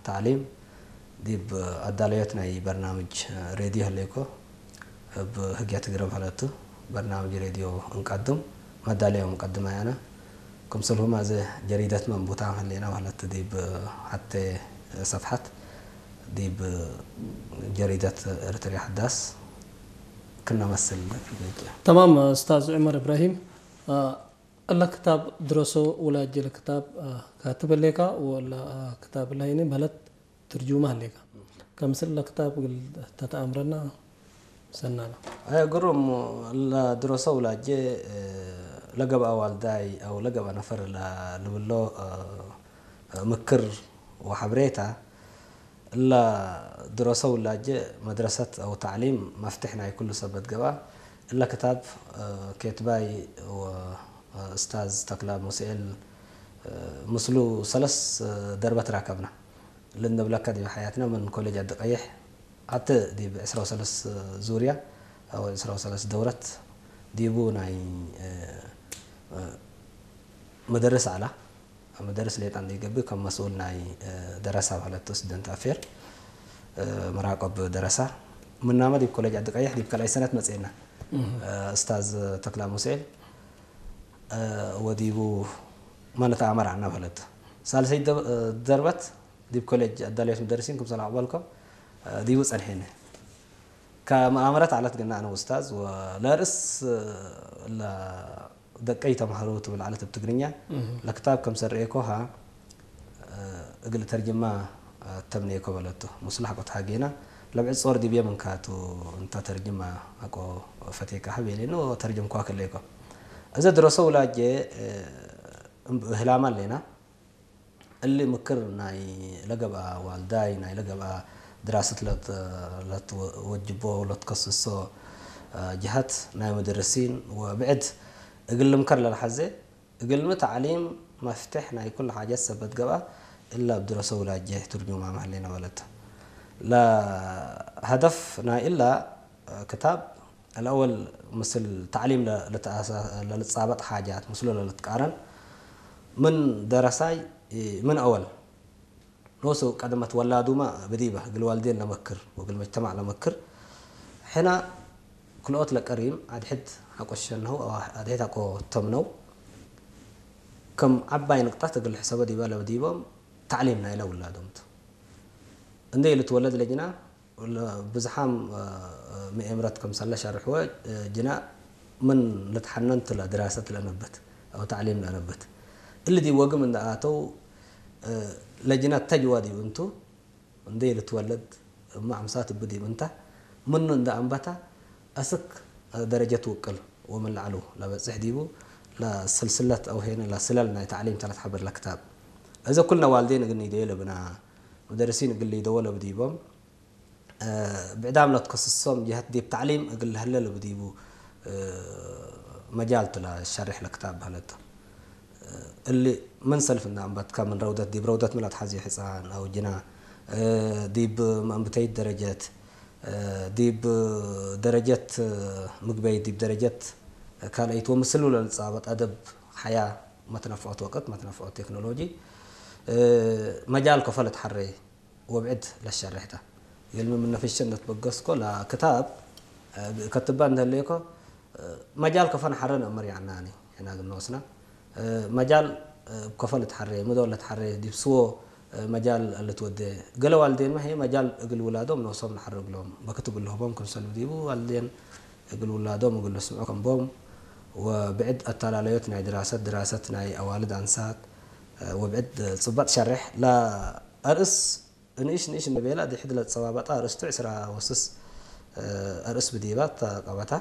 ተዕሊም ዲብ ኣዳለዮት ናይ በርናምጅ ሬድዮ ህሌኮ እብ ህግያ ትግረ ማለቱ በርናምጅ ሬድዮ እንቀድም መዳለዮም እንቀድም ኣያና ክምስልሁም ኣዘ ጀሪደት መንቡታ ህሌና ማለት ዲብ ሓተ ሰፍሓት ዲብ ጀሪደት ኤርትርያ ሓዳስ ክነመስል تمام أستاذ عمر إبراهيم. ألا كتاب درسو ولا جل كتاب كاتب لك ولا كتاب لايني بلد ترجمة لك. كمسل لكتاب تتأمرنا سنانا. أي قرم لا درسو ولا جي لقب أوالداي أو لقب نفر لبلو ምክር ወሓብሬታ እላ ድረሰ ውላጀ መድረሰት ኣው ተዕሊም መፍትሕ ናይ ኩሉ ሰበት ገብኣ እላ ክታብ ኬትባይ ወእስታዝ ተክላ ሙስኤል ምስሉ ሰለስ ደርበት ራከብና ልንብለካ ዲብ ሓያትና ምን ኮሌጅ ዓዲ ቀይሕ ኣተ ዲብ ዕስራ ወሰለስ ዙርያ ኣው ዕስራ ወሰለስ ደውረት ዲቡ ናይ መደርስ ኣላ መደርስ ሌጣ እንዲገብእ ከም መስኡል ናይ ደረሳ ማለት student affair መራቆብ ደረሳ ምናመ ዲብ ኮሌጅ ዓዲ ቀይሕ ዲብ ካልኣይ ሰነት መፅኤና እስታዝ ተክላ ሙሴል ወዲቡ ማለት ኣመራና ማለት ሳልሰይ ደርበት ዲብ ኮሌጅ ኣዳለዮት መደርሲን ክምሰል ኣቅበልኮ ዲቡ ፀንሐኒ ከመኣመረት ዓለት ግና ኣነ ውስታዝ ለርእስ ደቀይ ተማሃሮ ትብል ዓለት ብ ትግርኛ ለክታብ ከም ሰረኤኮ ሃ እግል ተርጅማ ተምኔኮ በለቶ ሙስላሕ ቆት ሃጌና ለብዕድ ጾር ዲብየ ምንካቱ እንታ ተርጅማ ኣቆ ፈቴካ ሃብ የሌኖ ተርጅምኳ ከሌኮ እዚ ድረሶ ውላጄ ህላማ ኣሌና እሊ ምክር ናይ ለገብኣ ዋልዳይ ናይ ለገብኣ ድራስት ለትወጅቦ ለትከስሶ ጅሀት ናይ መደረሲን ወብዕድ እግል ልምከር ለልሓዘ እግልሚ ተዕሊም መፍትሕ ናይ ኩሉ ሓጀት ሰበት ገብኣ እላ ብድረሰ ውላጀ ትርጁማ መህሌና በለቶ ለሀደፍ ናይ እላ ክታብ الأول ምስል ተዕሊም ለልጻበጥ ሓጃት ምስሉ ለልትቃረን ምን ደረሳይ ምን أول ኖሱ ቀደመት ወላዱማ ብዲበ እግል ዋልዴን ለመክር ወእግል መጅተማዕ ለመክር ሕና ክልኦት ለቀሪም ኣድሕድ ሓቆ ሸነው ኣድሕድ ሓቆ ተምነው ከም ዓባይ ንቅጣት እግል ሕሰበ ዲበ ለብዲቦም ተዕሊም ናይለ ውላዶምት እንደ ልትወለድ ለጅና ብዝሓም ምኤምረት ከምሰለ ሸርሕወ ጅና ምን ልትሓነንት ለድራሰት ለነበት ኣው ተዕሊም ለነበት እሊ ዲ ወግም እንደ ኣተው ለጅና ተጅዋ ዲብ እንቱ እንደ ልትወለድ እማ ኣምሳት እብ ዲብ እንታ ምኑ እንደ ኣንበታ ኣስክ ደረጀት ውቅል ወምን ለዕሉ ለበጽሕ ዲቡ ለስልስለት ኣው ሄነ ለስለል ናይ ተዕሊም ተለት ሓበር ለክታብ እዘ ኩልነ ዋልዴን እግል ኒደዮ ለብና መደርሲን እግል ሊደዎ ለብዲቦም ብዕዳም ለትከስሶም ጀሀት ዲብ ተዕሊም እግል ለህለ ለብዲቡ መጃል ቱ ለሸርሕ ለክታብ በህለቶ እሊ ምን ሰልፍ እና እምበትካ ምን ረውደት ዲብ ረውደት ምን ለትሓዝዮ ሕፃን ኣው ጅና ዲብ መእንብተይት ደረጀት ዲብ ደረጀት ምግበይት ዲብ ደረጀት ካልአይት ወምስሉ ለልጻበጥ ኣደብ ሓያ መትነፍዖት ወቅት መትነፍዖት ቴክኖሎጂ መጃል ከፈ ለትሓሬ ወብዕድ ለሸርሕታ የልሚ ምን ነፍሸ እንደትበገስኮ ለክታብ ከትባ እንደህሌኮ መጃል ከፈ ንሓረ ነእምር ያዕናኒ ሕና ግንወስና መጃል ከፈ ልትሓሬ ምዶ ለትሓሬ ዲብ ስዎ መጃል ልትወዴ ገለ ዋልዴን መሄ መጃል እግል ውላዶም ነብሶም ንሓርግሎም በክት እግል ልህቦም ክምሰል ብዲቡ ዋልዴን እግል ውላዶም እግል ልስምዑ ከምቦም ወብዕድ ኣተላለዮት ናይ ድራሰት ድራሰት ናይ ኣዋልድ ኣንሳት ወብዕድ ጽባጥ ሸርሕ ለኣርእስ ንእሽ ንእሽ ንቤላ ድሕድ ለጸባበጣ ኣርእስቱ ዕስራ ወስስ ኣርእስ ብዲባ ተቀበታ